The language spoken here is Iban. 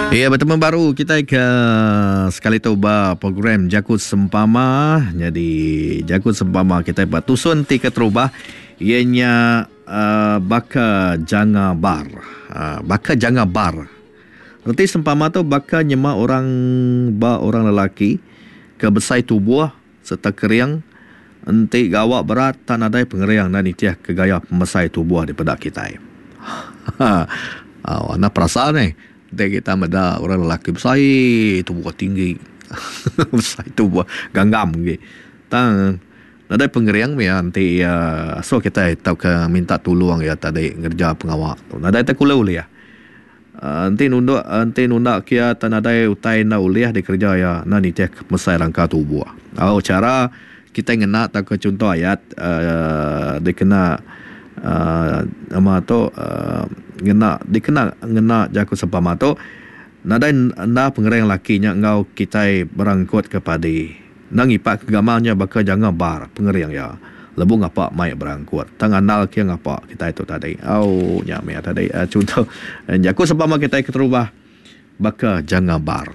Iya betemu baru kitai ke sekali tu ba program Jaku Sempama. Nyadi Jaku Sempama kitai ba tusun ti keterubah iya nya uh, baka janga bar. Uh, baka janga bar. Reti sempama tu baka nyema orang ba orang lelaki ke besai tubuh sereta kering enti gawa berat tak nadai pengering enda nitih ke gaya pemesai tubuh dipeda kitai. Au enda perasa neh enti kita meda orang lelaki besai tubuh tinggi besai tubuh ganggam agi tang nadai pengering mih iya enti iya asuh kitai tauka minta tulung iya tadi ngereja pengawa tu nadai tekulu ulih. Enti nunduk enti nunda kia tang nadai utai enda ulih dikereja iya enda nitih ke pemesai rangka tubuh. Au chara kitai ngena tauka chunto ayat uhh dikena uhh nama tu uhh ngena dikena ngena jaku sempama tu nadai enda pengering laki nya enggau kitai berangkut ke padi. Enda ngipak ke gamal nya baka janga bar pengering iya. Lebuh ngapa mai berangkut. Tang andal ke ngapa kitai tu tadi. Au nya mih tadi chunto jaku sempama kitai keterubah baka janga bar.